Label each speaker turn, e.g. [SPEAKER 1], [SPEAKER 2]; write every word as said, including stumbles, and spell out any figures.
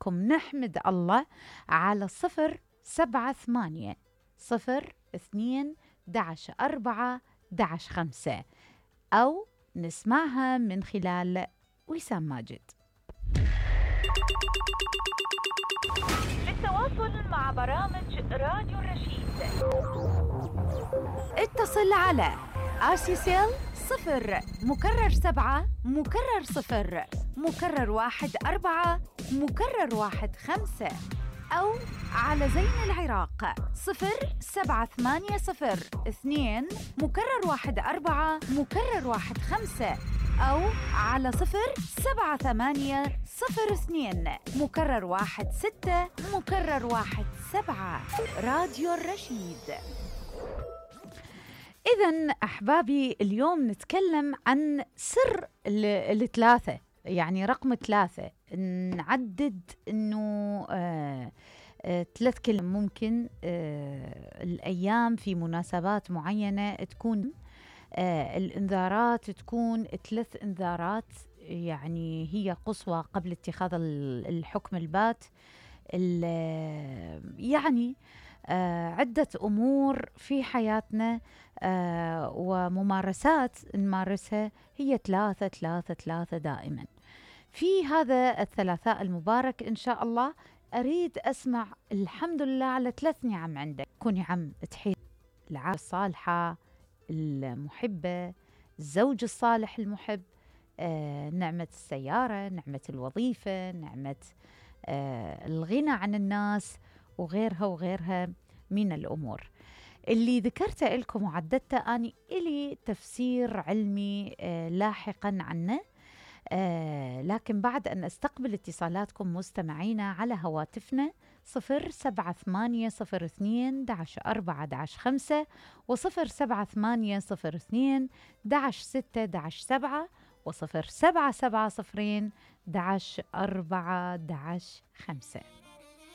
[SPEAKER 1] معاكم نحمد الله على صفر سبعة ثمانية صفر اثنين دعش أربعة دعش خمسة، أو نسمعها من خلال وسام ماجد. للتواصل مع برامج راديو الرشيد اتصل على آسيسيل صفر مكرر سبعة مكرر صفر مكرر واحد أربعة مكرر واحد خمسة، أو على زين العراق صفر سبعة ثمانية صفر اثنين مكرر واحد أربعة مكرر واحد خمسة، أو على صفر سبعة ثمانية صفر اثنين مكرر واحد ستة مكرر واحد سبعة. راديو الرشيد. إذن أحبابي، اليوم نتكلم عن سر الثلاثة، يعني رقم ثلاثة. نعدد إنه آه آه ثلاث كلمات ممكن آه الأيام في مناسبات معينة تكون آه الإنذارات تكون ثلاث إنذارات، يعني هي قصوى قبل اتخاذ الحكم البات. يعني آه عدة أمور في حياتنا آه وممارسات نمارسها هي ثلاثة ثلاثة ثلاثة دائما. في هذا الثلاثاء المبارك إن شاء الله أريد أسمع الحمد لله على ثلاث نعم عندك. كوني عم تحيي العائلة الصالحة المحبة، الزوج الصالح المحب، آه نعمة السيارة، نعمة الوظيفة، نعمة آه الغنى عن الناس، وغيرها وغيرها من الأمور اللي ذكرت لكم وعددت أني إلي تفسير علمي آه لاحقا عنه. آه لكن بعد أن أستقبل اتصالاتكم مستمعينا على هواتفنا صفر سبعة ثمانية صفر اثنين دعش أربعة دعش خمسة وصفر سبعة ثمانية صفر اثنين دعش ستة دعش سبعة وصفر سبعة سبعة صفرين دعش أربعة دعش خمسة.